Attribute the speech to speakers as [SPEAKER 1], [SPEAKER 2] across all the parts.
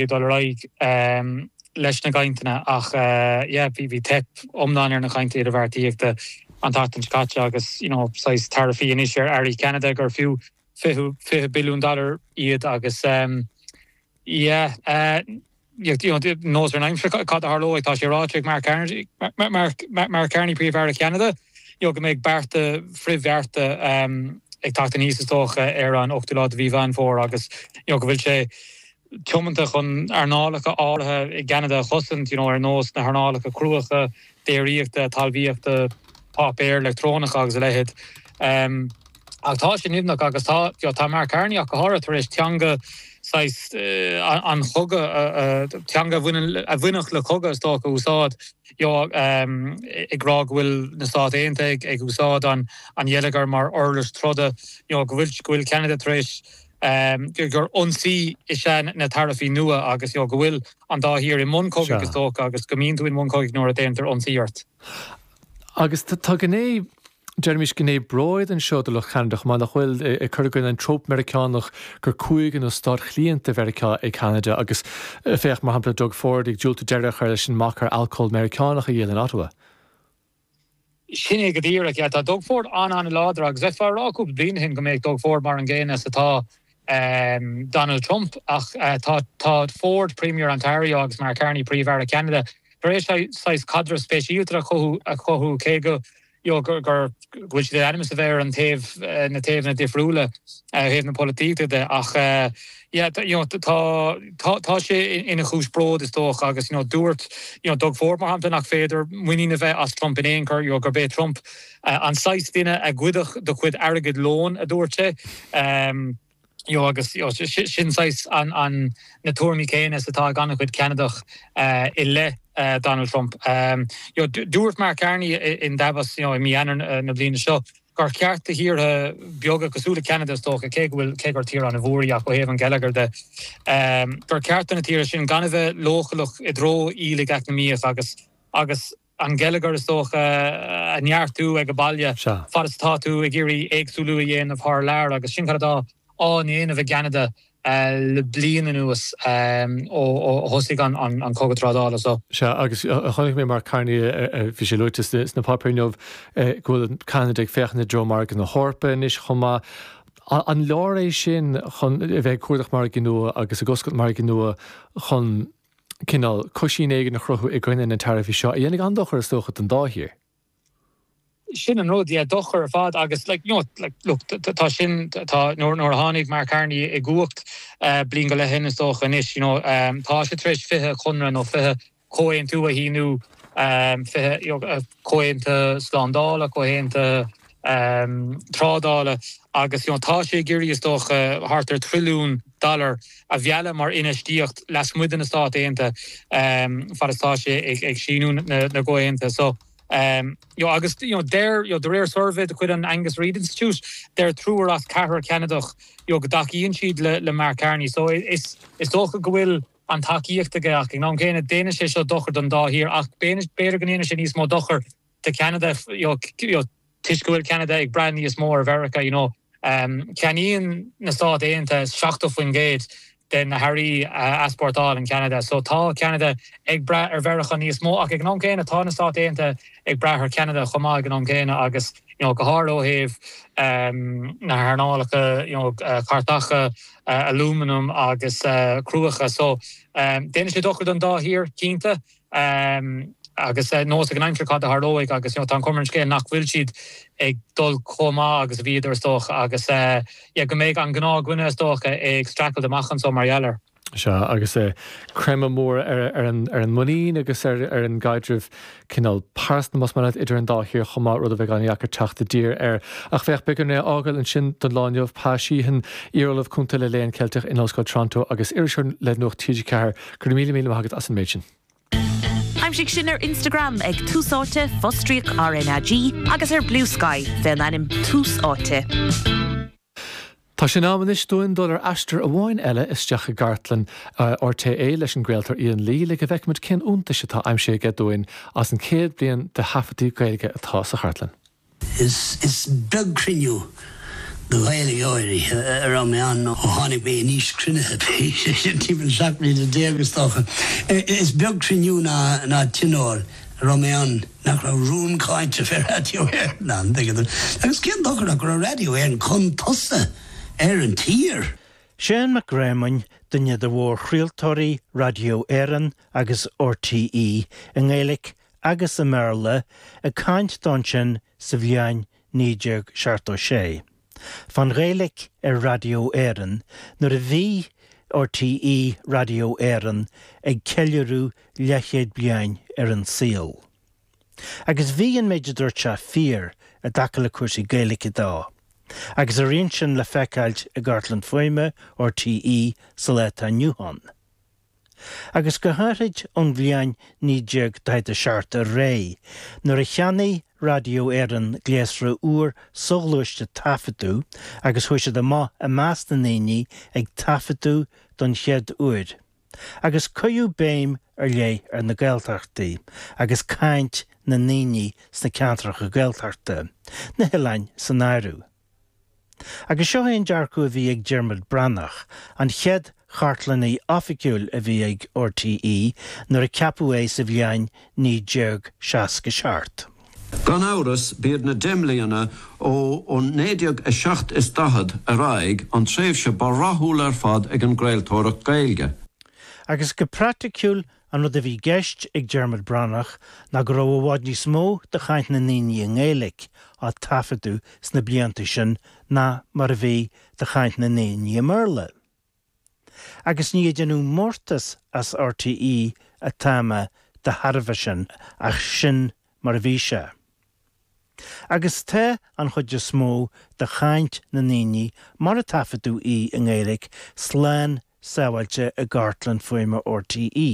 [SPEAKER 1] Ag dul ar aghaidh leis na gcainteanna ach yeah bhí teip iomlán ar na cainteanna idirbheartaíochta an tseachtain seo caite agus you know saghas taraifí anois ar earraí Cheanada gur fiú 20 billiún dollar iad agus yeah you know nós ar an aimsir cad a tharlóidh tá sé ráite ag Mark Carney Mark Carney Príomh-Aire Cheanada you know go mbeidh bearta frithbhearta ag teacht aníos is dócha ar an 8ú lá de mhí Mheán Fómhair agus you know go bhfuil sé tiomanta chun earnálacha áirithe i gCeanada a chosaint, you know, ar nós na hearnálacha cruacha, déiríochta, talmhaíochta, páipéir leictreonacha agus a leithéid. Ach tá sé nimhneach agus tá, you know, tá Mark Carney ach go háirithe tar éis teanga saghas an chogaidh, teanga a bhaineann, a bhainfeadh le cogadh is dócha a úsáid, you know, ag rá go bhfuil na Stáit Aontaithe ag úsáid an gheilleagar mar uirlis troda, you know, go bhfuil, go bhfuil Ceanada tar éis gur ionsaí is ea na taraifí nua agus go bhfuil an dá thír i mbun cogaidh is dócha agus go mbíonn tú i mbun cogaidh nuair a déantar ionsaí ort.
[SPEAKER 2] Agus tá gné, deirimis gné bróid anseo do lucht Cheanada chomh maith, nach bhfuil, ag cur i gcoinne an tróp Meiriceánach gur cúige nó stát chliant de Mheiriceá é Ceanada agus féach mar shampla Doug Ford ag diúltú deireadh a chur leis an mbac ar alcól Meiriceánach a dhíol in Ottawa.
[SPEAKER 1] Sin é go díreach, yeah. Tá Doug Ford an-an-láidir agus bheifeá ag rá cúpla bliain ó shin go mbeadh Doug Ford mar an gcéanna is atá Donald Trump ach tá tá Ford, Premier Ontario agus Mark Carney, Príomh-Aire Cheanada, tar éis saghas caidreamh speisialta a chothú a chothú cé go you know gur gur go bhfuil siad in ainm is a bheith ar an taobh na taobhanna difriúla ó thaobh na polaitíochta de ach yeah you know tá tá tá sé ina chúis bróid is dócha agus you know dúirt you know Doug Ford mar shampla nach féidir muinín a bheith as Trump in aon chor you know gurb é Trump an saghas duine a ghoidfeadh do chuid airgid lóin a dúirt sé you know agus you know sin saghas an an na tuairimí céanna is atá ag an-chuid Ceanadach i leith Donald Trump. You know dúirt Mark Carney in Davos you know i mí Eanáir na bliana seo gur cheart do thíortha beaga cosúil le Ceanada is dócha, cé go bhfuil, cé gur tír an-mhór í ach ó thaobh an gheilleagair de, gur cheart do na tíortha sin gan a bheith leochaileach i dtreo aoiligh eacnamaíoch agus agus an geilleagar is dócha a neartú ag baile fad is atá tú ag iarraidh éagsúlú a dhéanamh thar lear agus sin cad atá á ndéanamh i gCeanada le bliain anuas ó thosaigh an cogadh trádála
[SPEAKER 2] so. Sea, agus chonaic mé Mark Carney, bhí sé luaite sna páipéir inniu, go bhfuil Ceanada ag féachaint i dtreo margadh na hEorpa anois chomh maith. An leor é sin chun a bheith ag cuardach margaí nua agus ag oscailt margaí nua chun cineál coisín éigin a chruthú i gcoinne na taraifí seo, a dhéanfaidh an-dochar is dócha don dá thír?
[SPEAKER 1] Sin an rud, yeah, dochar ar fad agus like, you know, like, look, tá sin, tá, nuair, nuair a tháinig Mark Carney i gcumhacht bliain go leith ó shin is dócha anois, you know, tá sé tar éis 20 conradh nó 20 comhaontú a shíniú, 20, you know, comhaontuithe slándála, comhaontuithe trádála agus, you know, tá sé ag iarraidh is dócha thart ar trilliún dollar a mhealladh mar infheistíocht lasmuigh de na Stáit Aontaithe fad is tá sé ag síniú na gcomhaontuithe. So. You know, agus you know, deir, you know, de réir suirbhé de chuid an Angus Reid Institute, deir triúr as ceathrar Ceanadach you know, go dtacaíonn siad le, le Mark Carney. So is, is dócha go bhfuil an tacaíocht aige ach ag an am céanna déanann sé seo dochar don dá thír ach b'fhéidir go ndéanann sé níos mó dochar do Cheanada you know, you know, toisc go bhfuil Ceanada ag brath níos mó ar Mheiriceá, you know. Ceannaíonn na Stáit Aontaithe 70% de na hearraí a easpórtálann Ceanada. So tá Ceanada ag brath ar Mheiriceá níos mó ach ag an am céanna tá na Stáit Aontaithe ag brath ar Cheanada chomh maith ag an am céanna agus you know go háirithe ó thaobh na hearnálacha you know cairteacha, alúmanam agus cruacha. So déanann sé dochar don dá thír cinnte. Agus nós ag an aimsir cad a tharlóidh agus you know tá an chuma ar an scéal nach bhfuil siad ag dul chomh maith agus a bhíodar is dócha agus yeah go mbeidh an gnáthdhuine is dócha ag streachailt amach anso mar gheall air.
[SPEAKER 2] Sea, agus creimeadh mór ar an ar an muinín agus ar ar an gcaidreamh cineál pearsanta más maith leat idir an dá thír chomh maith, rud a bheidh an-dheacair teacht i dtír air. Ach féach, beidh orainn é a fhágáil ansin don lá inniu. Pa Sheehan, iar-ollamh cúnta le Léann Ceilteach in Ollscoil Toronto agus iriseoir le Nuacht TG4, Go raibh míle míle maith agat as an méid sin.
[SPEAKER 3] Aimsigh sinn ar Instagram ag Tús Áite, fostríoc RnaG, agus ar Bluesky fén ainm Tús Áite.
[SPEAKER 2] Tá sé in am anois dúinn dul ar aistear amháin eile isteach i gcartlann RTÉ leis an gcraoltóir Ian Lee le go bhfeicfimid cén iontais atá aimsithe aige dúinn as an 100 bliain de thaifeadtaí Gaeilge atá sa chartlann.
[SPEAKER 4] Is beag cruinniú. Do Ghaeilgeoirí a raibh mé ann ó tháinig mé in aois cruinnithe, sé sin timpeall 17 mbliana is dócha. Is beag cruinniú ná tionól a raibh mé ann nach raibh rún cáinte fé Raidió Éireann ann, tuigeann tú. Agus cén dochar ach go raibh Raidió Éireann chun tosaigh ar an tír.
[SPEAKER 5] Seán Mac Réamoinn, duine de mhórchraoltóirí Raidió Éireann agus RTÉ i nGaeilge agus i mBéarla, ag caint dó ansin sa bhliain 1976, fán Ghaeilge ar Raidió Éireann nuair a bhí RTÉ Raidió Éireann ag ceiliúradh leathchéad bliain ar an saol. Agus bhí an méid a dúirt sé fíor i dtaca le cúrsaí Gaeilge de, agus a rian sin le feiceáilt i gcartlann fuaime RTÉ sa lá atá inniu ann. Agus go háithrid ón bhliain 1947 ar aghaidh, nuair a cheannaigh Raidió Éireann gléasra úr soghluaiste taifeadadh agus chuaigh siad amach i measc na ndaoine ag taifeadadh don chéad uair, agus cuireadh béim ar leith ar na Gaeltachtaí agus caint na ndaoine sna ceantracha Gaeltachta, na hoileáin san áireamh. Agus seo é an dearcadh a bhí ag Diarmuid Breathnach, an chéad chartlannaí oifigiúil a bhí ag RTÉ nuair a ceapadh é sa bhliain 1967.
[SPEAKER 6] Gan amhras, b'iad na deich mbliana ó 1947 is ar aghaidh an tréimhse ba rathúla ar fad ag an gcraoltóireacht Gaeilge.
[SPEAKER 5] Agus go praiticiúil, An rud a bhí i gceist ag Diarmuid Breathnach ná go raibh i bhfad níos mó de chaint na ndaoine i nGaeilge á taifeadadh sna blianta sin ná mar a bhí de chaint na ndaoine i mBéarla. Agus ní ag déanamh mórtas as RTÉ atá mé de thairbhe sin ach sin mar a bhí sé. Agus tá an chuid is mó de chaint na ndaoine mar a taifeadadh í i nGaeilge slán sábháilte i gcartlann fuaime RTÉ.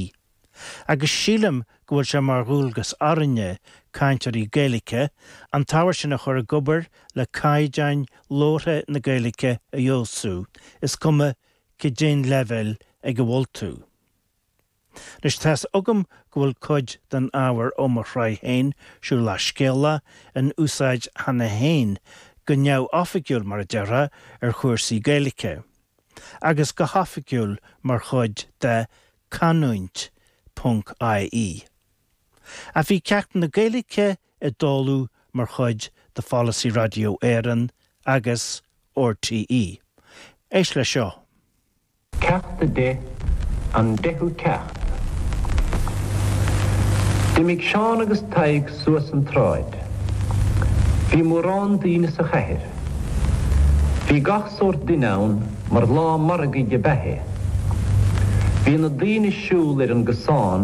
[SPEAKER 5] Agus sílim go bhfuil sé mar dhualgas orainne, cainteoirí Gaeilge, an t-ábhar sin a chur ag obair le caighdeáin labhartha na Gaeilge a fheabhsú, is cuma cad é an leibhéal ag a bhfuil tú. Anois tá's agam go bhfuil cuid den ábhar ó mo shraith féin, Siúlach Scéalach, in úsáid cheana féin, go neamhoifigiúil mar a déarfá, ar chúrsaí Gaeilge, agus go hoifigiúil mar chuid de Canúint ponc ie. Ach bhí ceachtanna Gaeilge ag dul mar chuid de pholasaí Raidió Éireann agus RTÉ. Éist leis seo.
[SPEAKER 7] Ceacht 10, An Deichiú Ceacht. D'imigh Seán agus Tadhg suas an tsráid. Bhí mórán daoine sa chathair. Bhí gach sórt duine ann mar lá margaidh ab ea é. Bhí na daoine ag siúl ar an gcosán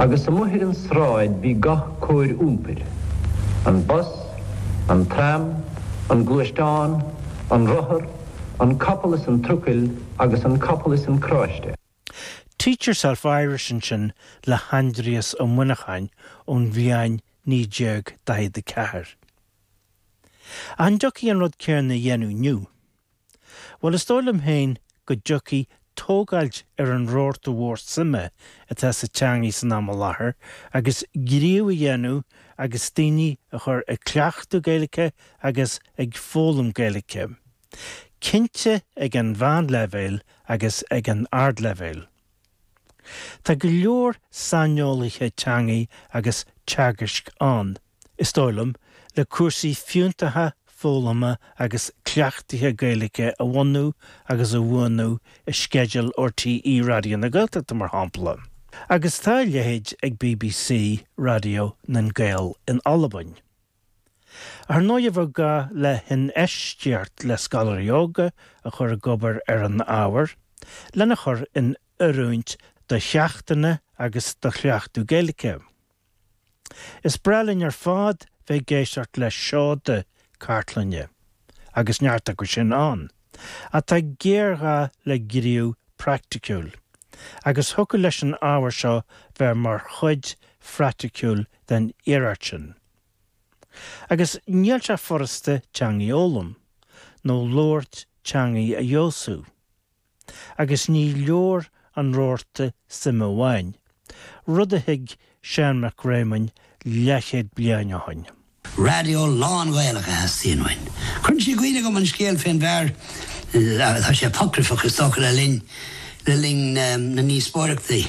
[SPEAKER 7] agus amuigh ar an sráid bhí gach cóir iompair, an bus, an tram, an gluaisteán, an rothar, an capall is an trucail agus an capall is an carráiste.
[SPEAKER 5] Teach Yourself Irish ansin le hAindrias Ó Muineacháin ón bhliain 1944. An dtiocfaidh an rud céanna a dhéanamh inniu? Bhuel, is dóigh liom féin go dtiocfaidh tógáilt ar an rabharta mhór suime atá sa teangaidh san am i láthair agus gníomh a dhéanamh agus daoine a chur ag cleachtadh Gaeilge agus ag foghlaim Gaeilge. Cinnte ag an mheánleibhéal agus ag an ardleibhéal. Tá go leor saineolaithe teangaidh agus teagaisc ann, is dóigh liom, le cúrsaí fiúntacha foghlama agus cleachtaithe Gaeilge a bhunú agus a bhuanú i sceideal RTÉ Raidió na Gaeltachta, mar shampla. Agus tá a leithéid ag BBC Raidió nan Gael in Albain. Ar ndóigh bheadh gá le hinfheistíocht le scoláirí óga a chur ag obair ar an ábhar, lena chur in oiriúint do cheachtanna agus do chleachtadh Gaeilge. Is breá linn ar fad bheith ag éisteacht le seoda cartlainne, agus neart acu sin ann, ach tá géarghá le gníomh praiticiúil, agus thiocfadh leis an ábhar seo bheith mar chuid phraiticiúil den iarracht sin. Agus níl sé furasta teangaidh a fhoghlaim, nó labhairt teangaidh a fheabhsú. Agus ní leor an rabharta suime amháin, rud a thuig Seán Mac Réamoinn leathchéad bliain ó shoin.
[SPEAKER 4] Raidió lán-Ghaelach a theastaíonn uainn. Cuireann sé i gcuimhne dhom an scéal fén bhfear, tá sé apocryphach is dócha, le linn, le linn na ndíospóireachtaí.